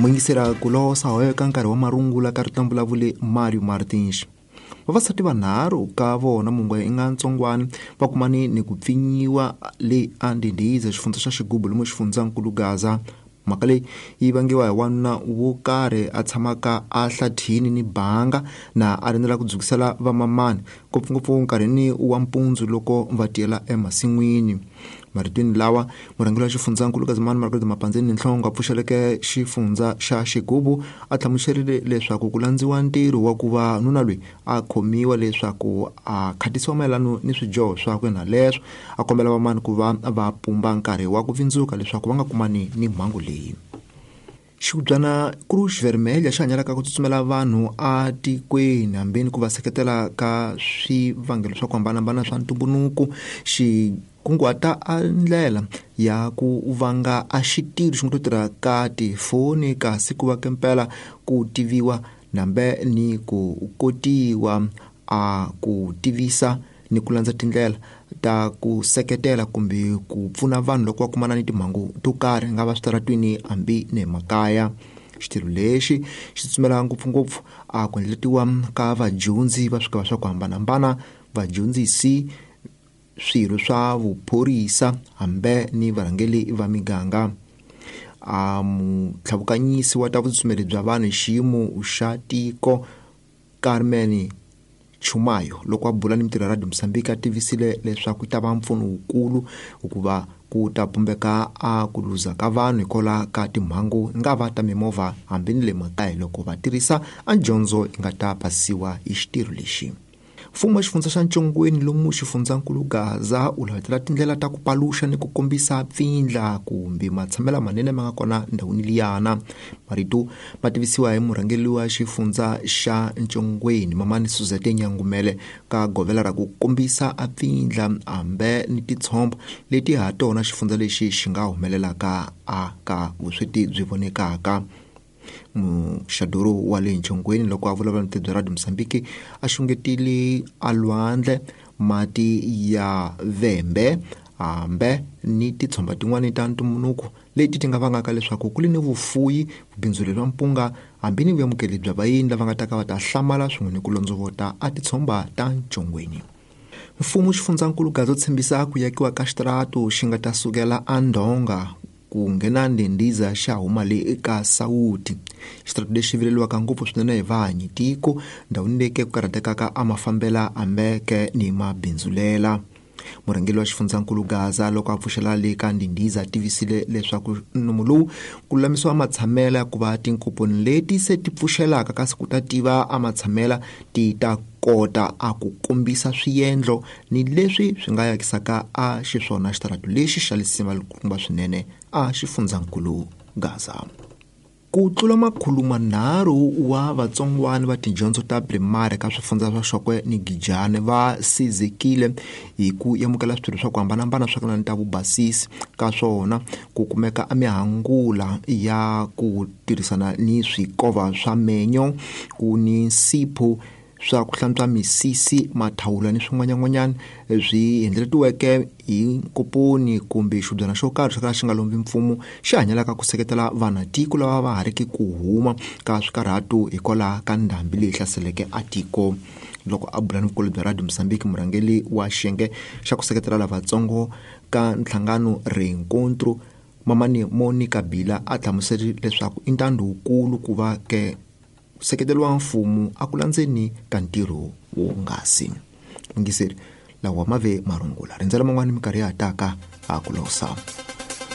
Muyingisela ku losa hoyo ka nkarhi wa marungula ka rito vulavuli Mario Martins. Vavasati vanharhu ka vona mungwe i nga ntsongwani va kumani ni ku pfinyiwa le andindhiza xifundza xa xigubu lomu xifundzankulu Gaza. Mhaka leyi yi vangiwa hi wanuna wo karhi a tshamaka a hlathini ni banga na a rindzela ku dzukisela vamamani ngopfungopfu nkarhini wa mpundzu loko va tiyela emasin'wini. Maritweni lawa murhangeri wa xifundzankulu Kazimani Margaret Mapandzeni Nhlongo a pfuxeleke xifundza xa xigubu a hlamuserile leswaku ku landziwa ntirho wa ku va nuna loyi a khomiwa leswaku a khatisiwa mayelano ni swidyoho swakwe na leswo a kombela vamani ku va va pumba nkarhi wa ku vindzuka leswaku va nga kumani ni mhangu leyi. Xihubyana Cruz Vermelha xi hanyelaka ku tsutsumela vanhu atikweni hambeni ku va seketela ka swivangelo swa ku hambanahambana swa ntumbuluko xi kunguhata a ndlela ya ku vanga a xitiro xi nga to tirha ka tifoni kasi ku va kempela ku tiviwa nambe ni ku kotiwa a ku tivisa ni ku landza tindlela ta ku seketela kumbe ku pfuna vanhu loko va kumana ni timhangu to karhi nga va switaratwini hambi ne makaya. Xitirho lexi xi tsutsumela ngopfungopfu a ku endletiwa ka vadyondzi va swigava swa ku hambanahambana, vadyondzisi, swirho swa vuphorisa hambi ni varhangeri va miganga. A mutlhavukanyisi wa ta vutsutsumeli bya vanhu hi xiyimo xa tiko Carmen Chumayo loko a bula ni mitirho ya Radio Mozambique a tivisile leswaku yi ta va mpfuno wukulu hikuva ku ta pumbeka a ku luza ka vanhu hikwalaho ka timhangu nga va ta mimovha hambi ni le makaya loko va tirhisa a dyondzo yi nga ta pasiwa hi xitirho lexi. Mfumo wa xifundza xa Ntshongweni lomu xifundzankulu Gaza u lavetela tindlela ta ku paluxa ni ku kombisa pfindla kumbe matshamelo manene ma nga kona ndhawini liyana. Marito ma tivisiwa hi murhangeri wa xifundza xa Ntshongweni Mamani Suzette Nyangumele ka govela ra ku kombisa a pfindla hambe ni titshombo leti ha tona xifundza lexi xi nga humelelaka a ka vusweti byi vonekaka. Muxaduru wa le Ntshongweni loko a vulavula ni bya Radio Mozambique a xungetile a lwandle mati ya vembe hambe ni titshomba tin'wani ta ntumbuluko leti ti nga vangaka leswaku ku li ni vufuyi vubindzuli bya mpunga hambi ni vuyamukeli bya vayeni lava nga ta ka va ta hlamala swin'we ni ku londzovota a titshomba ta Ntshongweni. Mfumo xifundzankulu Gaza tshembisa ku yakiwa ka xitaratu xi nga ta sukela andhonga ku nghena ndhendiza xa huma le eka sawuti. Xitaratu lexi vileliwaka ngopfu swinene hi vahanyi tiko ndhawini leyi ke ku karhatekaka a mafambela ambeke ni mabindzulela. Murhangeri wa xifundzankulu Gaza loko a pfuxela le ka ndhindhiza tivisile leswaku nomu lowu ku lulamisiwa matshamela ku va tinkoponi leti se ti pfuxelaka kasi ku ta tiva a matshamela ti ta kota a ku kombisa swiendlo ni leswi swi nga yakisaka a xiswona xitaratu lexi xa lisima likukumba swinene a xifundzankulu Gaza. Ku tlula 300 wa vatsongwana va tidyondzo ta primary ka swifundza swa Xokwe ni Gijane va sizekile hi ku amukela switirho swa ku hambanahambana swa kana ta vubasisi ka swona ku kumeka a mihangula ya ku tirhisana ni swikova swa menyo ku ni nsipho swa ku hlantswa misisi mathawula ni swin'wanyan'wanyana swi endletiweke hi nkoponi kumbe xibyana xo karhi xo ka xi nga lombi mfumo xi hanyelaka ku seketela vanatiko lava va ha riki ku huma ka swikarhato hikwalaho ka ndhambi leyi hlaseleke a tiko. Loko a bula ni vukulu bya Radio Mozambique murhangeri wa xiyenge xa ku seketela lavatsongo ka nhlangano Reencontro Mamani Monica Bila a hlamuserile leswaku i ntando wukulu ku va ke seketeriwa mfumo a ku landzeni ka ntirho wonghasi. Yingiseri lawa ma ve marungula rindzela man'wani minkarhi ya ha taka a ku losa.